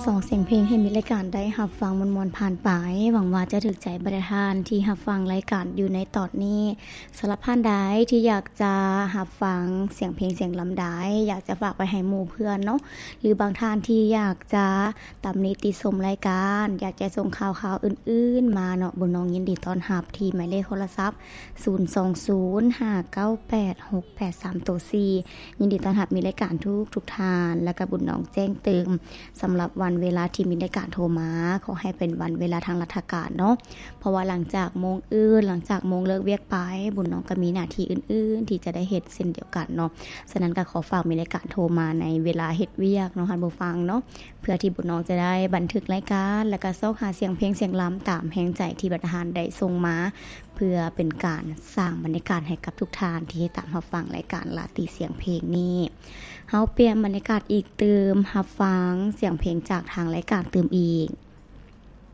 ສອງສຽງເພງໃຫ້ມິດລາຍການໄດ້ຮັບຟັງມ່ວນໆຜ່ານໄປ. ຫວັງວ່າຈະຖືກໃຈບັນດາທ່ານທີ່ຮັບຟັງລາຍການຢູ່ໃນຕອນນີ້. ສຳລັບທ່ານໃດທີ່ຢາກຈະຮັບຟັງສຽງເພງສຽງລຳໃດ ຢາກຈະຝາກໄປໃຫ້ໝູ່ເພື່ອນເນາະ ຫຼືບາງທ່ານທີ່ຢາກຈະຕຳໜິຕິຊົມລາຍການ ຢາກຈະສົ່ງຂ່າວຄາວອື່ນໆມາເນາະ ບຸນນ້ອງຍິນດີຕ້ອນຮັບທີ່ໝາຍເລກໂທລະສັບ ສູນສອງສູນຫ້າເກົ້າແປດຫົກແປດສາມໂຕສີ່. ຍິນດີຕ້ອນຮັບມິດລາຍການທຸກໆທ່ານ ແລ້ວກໍບຸນນ້ອງແຈ້ງເຕີມ ສຳລັບວັນເວລາທີ່ມິດລາຍການໂທມາ ຂໍໃຫ້ເປັນວັນເວລາທາງລັດຖະການເນາະ ເພາະວ່າຫຼັງຈາກໂມງອື່ນ ຫຼັງຈາກໂມງເລີກວຽກໄປ ບຸນນ້ອງກໍມີໜ້າທີ່ອື່ນໆທີ່ຈະໄດ້ເຮັດເຊັ່ນດຽວກັນເນາະ. ສະນັ້ນກໍຂໍຝາກມິດລາຍການໂທມາໃນເວລາເຮັດວຽກເນາະ ທ່ານຜູ້ຟັງເນາະ ເພື່ອທີ່ບຸນນ້ອງຈະໄດ້ບັນທຶກລາຍການ ແລ້ວກໍຊອກຫາສຽງເພງສຽງລຳຕາມແຮງໃຈທີ່ບັນດາທ່ານໄດ້ສົ່ງມາ ເພື່ອເປັນການສ້າງບັນຍາກາດໃຫ້ກັບທຸກທ່ານທີ່ຕິດຕາມຮັບຟັງລາຍການລາຕີສຽງເພງນີ້. ເຮົາປ່ຽນບັນຍາກາດອີກຕື່ມ ຮັບຟັງສຽງເພງຈາກທາງລາຍການຕື່ມອີກ.